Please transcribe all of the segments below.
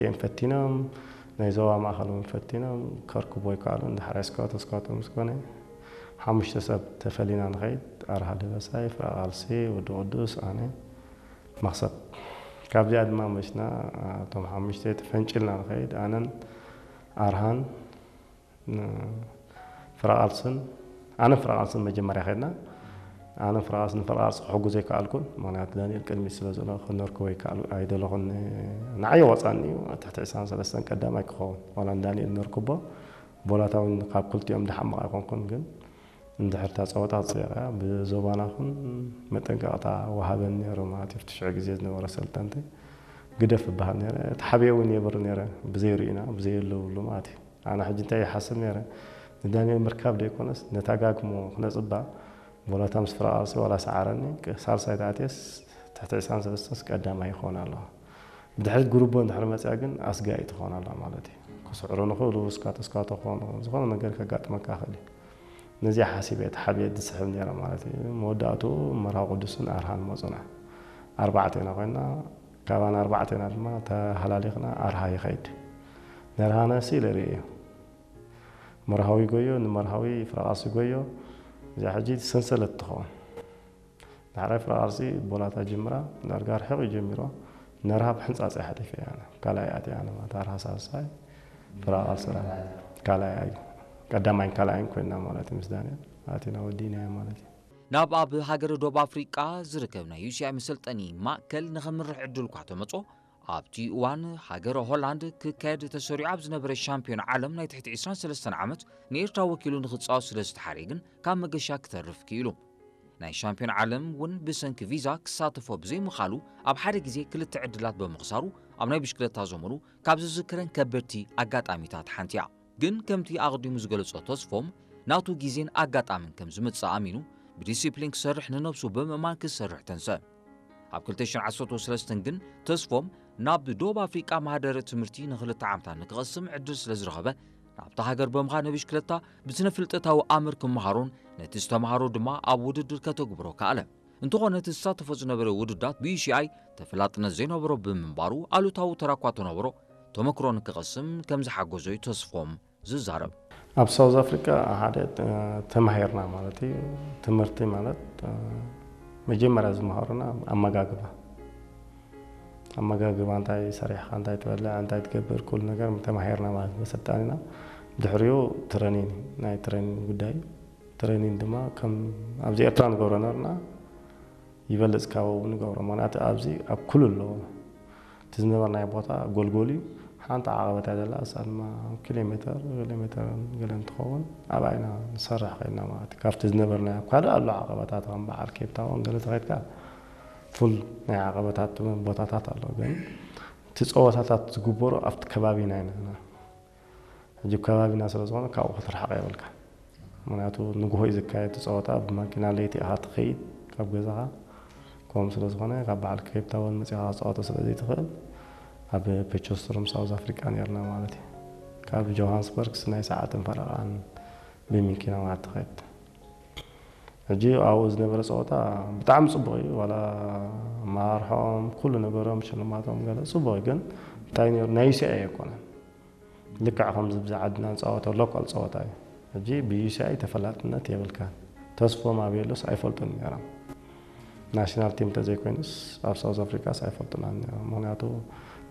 እዮም ፈቲኖም፣ ናይ ዞባ ማእኸል እውን ፈቲኖም፣ ከርክቦ ኣይከኣሉን። ዳሕራይ ስኳቶ ስኳቶ ምስ ኮነ፣ ሓሙሽተ ሰብ ተፈሊና ንኸይድ፣ ኣርሃ ደበሳይ፣ ፍረ ቃልሲ፣ ወዲ ቅዱስ፣ ኣነ፣ መኽሰብ። ካብዚኣ ድማ መሽና፣ እቶም ሓሙሽተ ተፈንጭልና ንኸይድ፣ ኣነን ኣርሃን፣ ን-፣ ፍረ ቃልስን፣ ኣነን ፍረ ቃልስን መጀመርያ ከድና። ኣነ ፍረ ቃልሲ፣ ንፍረ ቃልሲ ክሕጉዞ ኣይከኣልኩን። ምኽንያቱ ዳንኤል ቅድሚት ስለ ዘሎ ክነርክቦ ኣይከኣል-፣ ኣይደለኹን። ንዓይ ወፃኒ እዩ። ትሕቲ ዕስራን ሰለስተን ቀዳማይ ክኸውን። ዋላ ንዳንኤል ነርክቦ፣ ቦላታ እውን ካብ ክልቲኦም ድሓምቕ ኣይኮንኩን። ግን እንድሕር እታ ፀወታ ተፀይቕያ፣ ብዞባና ኹን መጠንቀቕታ ወሃበን ነይሩ ማለት እዩ። ኣብቲ ሽዑ ግዜ ዝነበረ ሰልጠንቲ ግደፍ እበሃል ነይረ። ተሓብየ እውን የብር ነይረ፣ ብዘይርእዩና፣ ብዘየለውሉ ማለት እዩ። ኣነ ሕጂ እንታይ ይሓስብ ነይረ፣ ንዳንኤል ምርካብ ደይኮነስ፣ ነታ ጋግሞ ክነፅባ፣ ቦላታ ምስ ፍረ ቃልሲ ዋላ ሰዓረኒ፣ ሳልሳይ ተኣትየስ፣ ትሕቲ ዕስራን ሰለስተንስ ቀዳማይ ይኸውን ኣለኹ። ብድሕሪት ጉርቦ እንድሕር መፅያ ግን ኣስጋኢ ትኸውን ኣላ ማለት እዩ። ክስዕሩ ንኽእሉ፣ ስካቶ ስካቶ ክኾኑ፣ ዝኾነ ነገር ከጋጥመካ ይኽእል እዩ። ነዚኣ ሓሲበ እየ ተሓቢአ ዝስሕብ ነይረ ማለት እዩ። መወዳእትኡ መርሃዊ ቅዱስን ኣርሃን መፁና። ኣርባዕተ ኢና ኮይና፣ ካባና ኣርባዕተ ኢና ድማ ተሃላሊኽና ኣርሃ ይኸይድ። ነርሃነ ስኢለ ርእየ። መርሃዊ ጎዮ ንመርሃዊ ፍረቓሲ ጎዮ። እዚኣ ሕጂ ሰንሰለት ትኸውን። ዳሕራይ ፍረቓሲ ቦላታ ጅምራ፣ ዳርጋ ርሒቕ እዩ ጀሚሮ። ነርሃ ብሕንጻጽ እያ ሓሊፈ እያ። ካልኣይ ኣትያ ኣነ ማለት ኣርሃ ሳልሳይ፣ ፍረቓሲ ካልኣይ እዩ። ቀዳማይን ካልኣይን ኮይና ማለት እዩ ምስ ዳንኤል። ኣቲና ወዲእናዮ ማለት እዩ። ናብ ኣብ ሃገረ ዶብ ኣፍሪቃ ዝርከብ ናይ ዩ ሲ ኣይ መሰልጠኒ ማእከል ንኸምርሕ ዕድል እኳ ተመጾ፣ ኣብቲ እዋን ሃገረ ሆላንድ ክካየድ ተሰሪዑ ኣብ ዝነበረ ሻምፒዮን ዓለም ናይ ትሕቲ ዕስራን ሰለስተን ዓመት ንኤርትራ ወኪሉ ንኽጻወት ስለ ዝተሓርየ ግን ካብ መገሻ ክተርፍ ክኢሉ። ናይ ሻምፒዮን ዓለም እውን ብሰንኪ ቪዛ ክሳተፎ ብዘይምኻሉ ኣብ ሓደ ግዜ ክልተ ዕድላት ብምኽሳሩ ኣብ ናይ ብሽክለታ ዘመኑ ካብ ዝዝክረን ከበድቲ ኣጋጣሚታት ሓንቲ እያ። ግን ከምቲ ኣቕዲሙ ዝገለጾ ተስፎም ናቱ ግዜን ኣጋጣምን ከም ዝመጽእ ኣሚኑ ብዲሲፕሊን ክሰርሕ ንነብሱ ብምእማን ክሰርሕ ተንሰ። ኣብ ክልተ ሽሕን ዓሰርተ ሰለስተን ግን ተስፎም ናብ ዶብ ኣፍሪቃ ማህደረ ትምህርቲ ንኽልተ ዓመታት ንክቐስም ዕድል ስለ ዝረኸበ ናብታ ሃገር ብምኻድ ንብሽክለታ ብስነ ፍልጠታዊ ኣምር ክመሃሮን ነቲ ዝተምሃሮ ድማ ኣብ ውድድር ከተግብሮ ከኣለ። እንተኾነ እቲ ዝሳተፎ ዝነበረ ውድዳት ብዩ ሲ ኣይ ተፈላጥነት ዘይነበሮ ብምንባሩ ኣሉታዊ ተራ እኳ ተነበሮ ተመክሮ ንክቐስም ከም ዝሓገዞ እዩ ተስፎም ዝዛረብ። ኣብ ሳውዝ ኣፍሪካ ሓደ ተማሂርና ማለት እዩ። ትምህርቲ ማለት መጀመርያ ዝመሃሩና ኣመጋግባ፣ ኣመጋግባ እንታይ ሰሪሕካ እንታይ ትበልዕ እንታይ ትገብር ኩሉ ነገር ተማሂርና ማለት መሰልጣኒና። ድሕሪኡ ትረኒን፣ ናይ ትረኒን ጉዳይ። ትረኒን ድማ ከም ኣብዚ ኤርትራ ንገብሮ ነበርና ይበልጽ ካብ ኣብኡ ንገብሮ። ምኽንያቱ ኣብዚ ኣብ ኩሉ ኣለዎ። እቲ ዝነበርናዮ ቦታ ጎልጎል እዩ። ሓንቲ ዓቐበት እያ ዘላ፣ እሳ ድማ ኪሎ ሜተር፣ ኪሎ ሜተር ገለን ትኸውን። ኣብኣ ኢና ንሰርሕ ከይድና ማለት እዩ። ካብቲ ዝነበርናዮ እኳ ኣሎ ዓቐበታት ከም በዓል ኬፕ ታውን ገለ ተኸይድካ ፉል ናይ ዓቐበታት ቦታታት ኣሎ። ግን እቲ ጸወታታት ዝግበሩ ኣብቲ ከባቢና ኢና። ሕጂ ከባቢና ስለ ዝኾነ ካብኡ ክትርሕቕ የብልካ። ምኽንያቱ ንግሆ እዩ ዝካየድ እቲ ጸወታ፣ ብማኪና ለይቲ ኢኻ ትኸይድ ካብ ገዛኻ። ከምኡ ስለ ዝኾነ ካብ በዓል ኬፕ ታውን መጺኻ ክትጻወቶ ስለ ዘይትኽእል ኣብ ፔቸስተሩም ሳውዝ ኣፍሪቃ ነርና ማለት እዩ። ካብ ጆሃንስበርግስ ናይ ሰዓትን ፈረቓን ብመኪና ማለት ትኸይድ። ሕጂ ኣብኡ ዝነበረ ጸወታ ብጣዕሚ ጽቡቕ እዩ። ዋላ ኣመራርሖም ኩሉ ነገሮም ሽልማቶም ገለ ጽቡቕ እዩ። ግን እንታይ ነይሩ ናይ ዩ ሲ ኣይ ኣይኮነን። ልክዕ ከምዚ ብዚ ዓድና ንጻወቶ ሎካል ጸወታ እዩ። ሕጂ ብዩ ሲ ኣይ ተፈላጥነት የብልካን። ተስፎም ኣበይ ኣሎስ ኣይፈልጡን ነይሮም። ናሽናል ቲም እንተዘይኮይኑስ ኣብ ሳውዝ ኣፍሪካስ ኣይፈልጡናን ነይሮም። ምኽንያቱ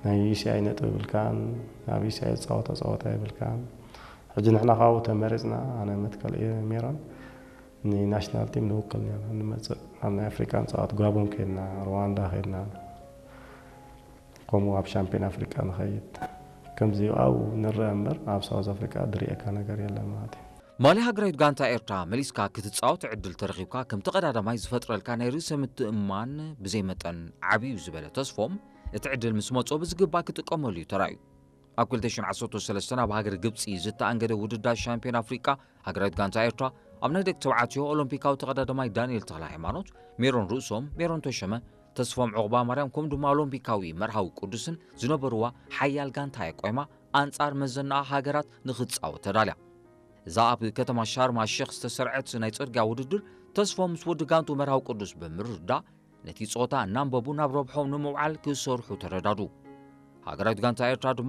ናይ ዩ ሲ ኣይ ነጥቢ የብልካን፣ ኣብ ዩ ሲ ኣይ ዝጻወቶ ጸወታ የብልካን። ሕጂ ንሕና ካብኡ ተመሪጽና፣ ኣነ መትከል እየ ሜሮን፣ ንናሽናል ቲም ንውክል ነይርና ንመጽእ። ኣብ ናይ ኣፍሪካ ንጻወት፣ ጋቦን ከይድና፣ ሩዋንዳ ከይድና፣ ከምኡ ኣብ ሻምፒዮን ኣፍሪቃ ንኸይድ። ከምዚ ኣብኡ ንረአ እምበር ኣብ ሳውዝ ኣፍሪቃ ዝርእየካ ነገር የለን ማለት እዩ። ማልያ ሃገራዊት ጋንታ ኤርትራ መሊስካ ክትጻወት ዕድል ተረኺብካ ከም ተቐዳዳማይ ዝፈጥረልካ ናይ ርእሰ ምትእምማን ብዘይ መጠን ዓብዩ ዝበለ ተስፎም፣ እቲ ዕድል ምስ መጾ ብዝግባእ ክጥቀመሉ እዩ ተራእዩ። ኣብ ክልተ ሽሕን ዓሰርተ ሰለስተን ኣብ ሃገር ግብጺ ዝተኣንገደ ውድድር ሻምፒዮን ኣፍሪቃ ሃገራዊት ጋንታ ኤርትራ ኣብ ናይ ደቂ ተባዕትዮ ኦሎምፒካዊ ተቐዳዳማይ ዳንኤል ተኽለ ሃይማኖት፣ ሜሮን ርእሶም፣ ሜሮን ተሸመ፣ ተስፎም ዑቕባ ማርያም ከምኡ ድማ ኦሎምፒካዊ መርሃዊ ቅዱስን ዝነበርዋ ሓያል ጋንታ እያ ቆይማ ኣንጻር መዘናኣ ሃገራት ንኽትጻወት ተዳልያ። እዛ ኣብ ከተማ ሻርማ ሸኽ ዝተሰርዐት ናይ ጽርግያ ውድድር ተስፎም ምስ ወዲ ጋንቱ መርሃዊ ቅዱስ ብምርድዳእ ነቲ ጸወታ እናንበቡ ናብ ረብሖም ንምውዓል ክሰርሑ ተረዳዱ። ሃገራዊት ጋንታ ኤርትራ